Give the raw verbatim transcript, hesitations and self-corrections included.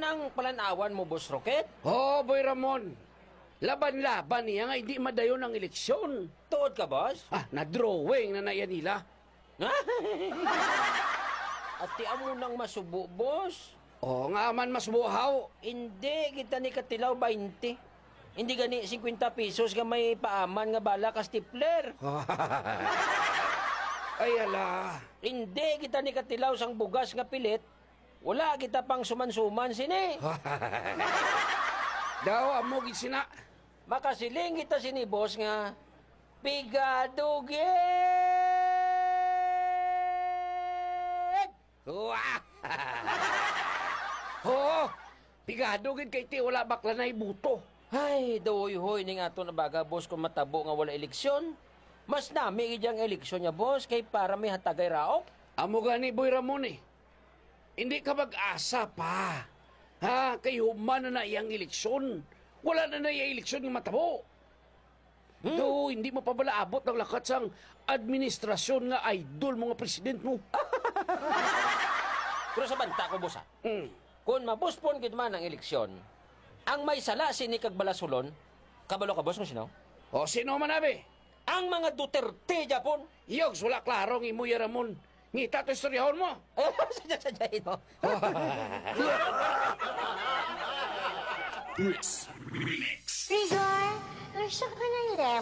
Ang palan-awan mo, Boss Rocket? Oh, Boy Ramon. Laban-laban niya nga hindi madayon ang eleksyon. Tuod ka, boss? Ah, na-drawing na na iya nila. Ati amo nang masubo, boss. Oh, nga man mas buhaw. Hindi kita ni katilaw twenty. Hindi gani fifty pesos nga may paaman nga bala ka stapler. Ay, ala. Hindi kita ni katilaw sang bugas nga pilit. Wala kita pang suman-suman sini. Daw, amo gid sina. Makasiling kita sini, boss, nga pigado gid. Wah! Oo, pigado gid kay ti wala bakla na ibuto. Ay, dawhoy ning aton abaga, boss, kung matabo nga wala eleksyon. Mas nami gid ang eleksyon niya, boss, kay para may hatagay raop. Amo gani, Boy Ramon, eh. Hindi ka mag-asa pa. Ha? Kay human na na iyang eleksyon. Wala na na iyang eleksyon nga matabo. Hmm? Do, hindi mo pa bala abot ang lakat sang administrasyon nga idol mo nga president mo. Pero sa banta ko, boss, ha? Hmm. Kung mabuspon gid man ang eleksyon, ang may sala sini kag balasulon, kabalo ka, boss, kung sino? O, sino man, abi? Ang mga Duterte, Japon. Yogs, wala klaro ang imo, ya Ramon. Ngita to istoryahon mo. Sadya-sadyahin mo. Chris Remix. Rigor, gusto ko ng lemon.